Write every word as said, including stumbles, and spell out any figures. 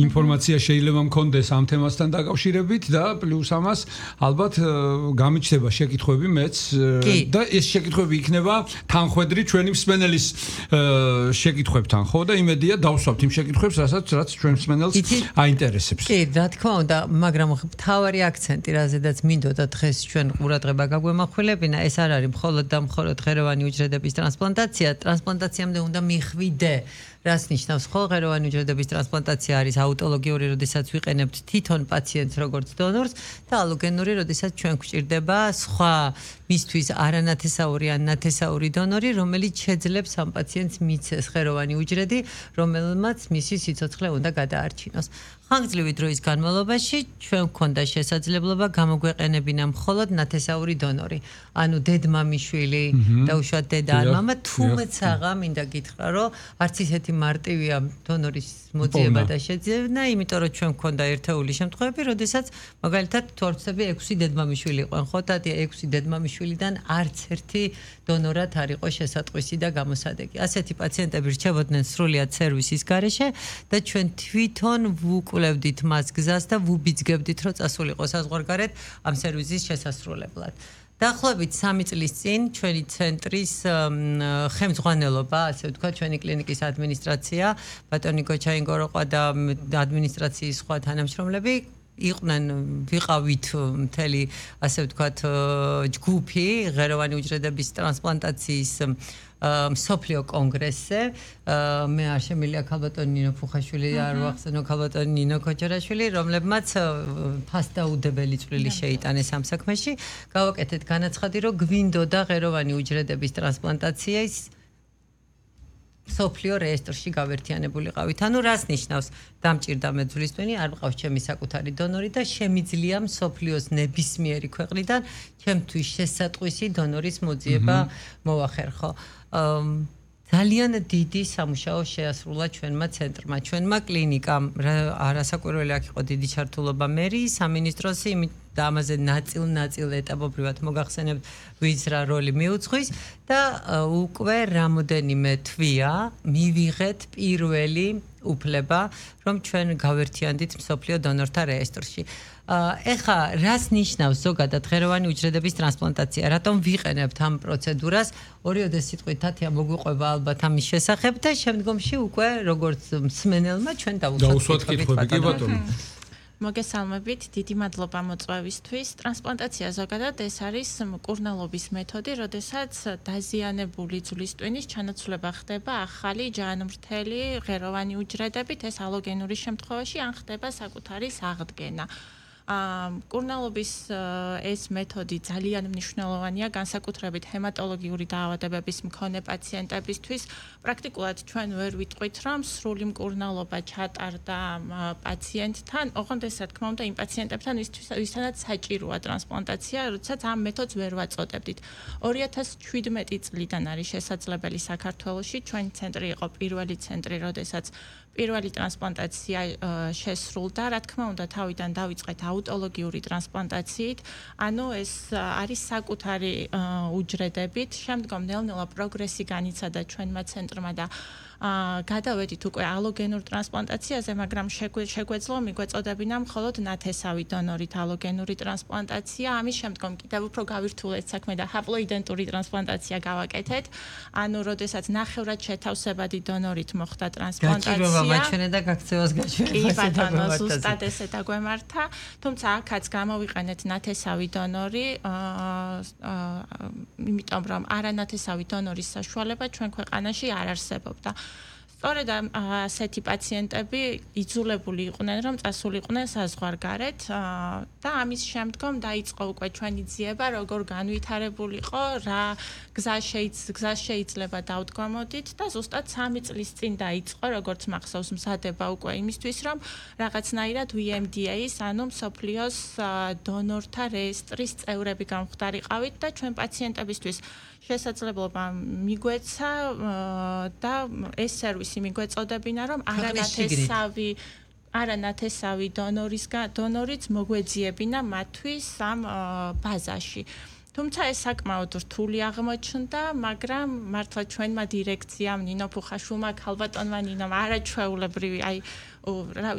ინფორმაცია შეიძლება მქონდეს ამ თემასთან დაკავშირებით და პლუს ამას ალბათ გამიჩნდება შეკითხვები მეც და ეს შეკითხვები იქნება თანხვედრი ჩვენი მსმენელის შეკითხვებთან, ხო და იმედია დავსვამთ იმ შეკითხვებს, რასაც რაც ჩვენ მსმენელს აინტერესებს. კი, რა თქმა უნდა, მაგრამ მთავარი აქცენტი, რაზედაც მინდოდა დღეს ჩვენ ყურადღება გაგვემახვილებინა, ეს არ არის მხოლოდ და მხოლოდ ღეროვანი უჯრედების ტრანსპლანტაცია, ტრანსპლანტაციამდე უნდა მიხვიდე. რას ნიშნავს ხო ღეროვანი უჯრედების ტრანსპლანტაცია არის აუტოლოგიური, როდესაც ვიყენებთ თვითონ პაციენტს როგორც დონორს და ალოგენური, როდესაც ჩვენ გვჭირდება სხვა მისთვის არანათესაური ან ნათესაური დონორი, რომელიც შეძლებს ამ პაციენტს მიცეს ღეროვანი უჯრედი, რომელმაც მისი სიცოცხლე უნდა გადაარჩინოს. ხანგრძლივი დროის განმავლობაში ჩვენ გვქონდა შესაძლებლობა გამოგვეყენებინა მხოლოდ ნათესაური დონორი. ანუ დედმამიშვილი და უშუალოდ დედა ან მამა, თუმცა მინდა გითხრა, რომ არც ისეთი მარტივია დონორის მოძიება და შეძენა, იმიტომ რომ ჩვენ გვქონდა ერთეული შემთხვევები, როდესაც მაგალითად თუ არ ვცდები ექვსი დედმამიშვილი იყვნენ, ხო და ექვსი დედმამიშვილიდან არც ერთი დონორად არ იყო შესატყვისი და გამოსადეგი. ასეთი პაციენტები რჩებოდნენ სრულიად სერვისის გარეშე და ჩვენ თვითონ ვუკვლევდით მას გზას და ვუბიძგებდით, რომ წასულიყო საზღვარგარეთ ამ სერვისის შესასრულებლად. დაახლოებით სამი წლის წინ ჩვენი ცენტრის ხელმძღვანელობა, ასე ვთქვათ, ჩვენი კლინიკის ადმინისტრაცია, ბატონი გოჩაინგოროყვა და ადმინისტრაციის სხვა თანამშრომლები იყვნენ, ვიყავით მთელი, ასე ვთქვათ, ჯგუფი ღეროვანი უჯრედების ტრანსპლანტაციის მსოფლიო კონგრესზე. მე არ შემიძლია ქალბატონი ნინო ფუხაშვილი არ ვახსენო ქალბატონი ნინო ქოჯორაშვილი, რომლებმაც ფასდაუდებელი წვლილი შეიტანეს ამ საქმეში. გავაკეთეთ განაცხადი, რომ გვინდოდა ღეროვანი უჯრედების ტრანსპლანტაციის სოფლიო რეესტრში გავერთიანებულიყავით. ანუ რას ნიშნავს? დამჭირდა მეძვლისტვინი, არ მყავს ჩემი საკუთარი დონორი და შემიძლია მსოფლიოს ნებისმიერი ქვეყნიდან ჩემთვის შესატყვისი დონორის მოძიება მოვახერხო. ძალიან დიდი სამუშაო შეასრულა ჩვენმა ცენტრმა, ჩვენმა კლინიკამ. არასაკვირველი აქ იყო დიდი ჩართულობა მერიის, სამინისტროსი, და ამაზე ნაწილ-ნაწილ ეტაპობრივად მოგახსენებთ, ვინც რა როლი მიუძღვის და უკვე რამოდენიმე თვეა მივიღეთ პირველი უფლება, რომ ჩვენ გავერთიანდით მსოფლიო დონორთა რეესტრში. ეხა რას ნიშნავს ზოგადად ღეროვანი უჯრედების ტრანსპლანტაცია? რატომ ვიყენებთ ამ პროცედურას? ორიოდე სიტყვით თათია მოგვიყვება ალბათ ამის შესახებ და შემდგომში უკვე როგორც მსმენელმა ჩვენ დავუსვათ კითხვები. კი ბატონო. მოგესალმებით, დიდი მადლობა მოწვევისთვის. ტრანსპლანტაცია ზოგადად ეს არის მკურნალობის მეთოდი, როდესაც დაზიანებული ძვლისტვინის ჩანაცვლება ხდება ახალი ჯანმრთელი ღეროვანი უჯრედებით, ეს ალოგენური შემთხვევაში ან ხდება საკუთარი აღდგენა. მკურნალობის ეს მეთოდი ძალიან მნიშვნელოვანია განსაკუთრებით ჰემატოლოგიური დაავადებების მქონე პაციენტებისთვის. პრაქტიკულად ჩვენ ვერ ვიტყვით, რომ სრული მკურნალობა ჩატარდა პაციენტთან, ოღონდ ეს რა თქმა უნდა იმ პაციენტებთან, ვისთანაც საჭიროა ტრანსპლანტაცია, როდესაც ამ მეთოდს ვერ ვაწოდებდით. ორი ათას შვიდმეტი წლიდან არის შესაძლებელი საქართველოში, ჩვენი ცენტრი იყო პირველი ცენტრი, როდესაც პირველი ტრანსპლანტაცია შესრულდა, რა თქმა უნდა, თავიდან დავიწყეთ აუტოლოგიური ტრანსპლანტაციით, ანუ ეს არის საკუთარი უჯრედებით, შემდგომ ნელ-ნელა პროგრესი განიცადა ჩვენმა ცენტრმა და გადავედით უკვე ალოგენურ ტრანსპლანტაციაზე, მაგრამ შეგვეძლო მიგვეწოდებინა მხოლოდ ნათესავი დონორით ალოგენური ტრანსპლანტაცია, ამის შემდგომ კიდევ უფრო გავირთულეთ საქმე და ჰაპლოიდენტური ტრანსპლანტაცია გავაკეთეთ, ანუ როდესაც ნახევრად შეთავსებადი დონორით მოხდა ტრანსპლანტაცია. გაჭირვება მაჩვენე და გაქცევას გაჩვენე. კი ბატონო, ზუსტად ესე დაგვემართა, თუმცა აქაც გამოვიყენეთ ნათესავი დონორი, იმიტომ რომ არანათესავი დონორის საშუალება ჩვენ ქვეყანაში არ არსებობდა. სწორედ ასეთი პაციენტები იძულებული იყვნენ, რომ წასულიყვნენ საზღვარგარეთ და ამის შემდგომ დაიწყო უკვე ჩვენი ძიება, როგორ განვითარებულიყო, რა გზა შეიძლება დავდგამოდით და ზუსტად სამი წლის წინ დაიწყო, როგორც მახსოვს, მზადება უკვე იმისთვის, რომ რაღაცნაირად ვი ემ დი ეის, ანუ მსოფლიოს დონორთა რეესტრის წევრები გამხდარიყავით და ჩვენ პაციენტებისთვის შესაძლებლობა მიგვეცა და ეს სერვისი მიგვეწოდებინა, რომ არანათესავი არანათესავი დონორისგან დონორიც მოგვეძიებინა მათთვის ამ ბაზაში. თუმცა ეს საკმაოდ რთული აღმოჩნდა, მაგრამ მართლა ჩვენმა დირექციამ, ნინო ფუხაშვილმა, ქალბატონმა ნინომ არაჩვეულებრივი, აი, რა ვიცი,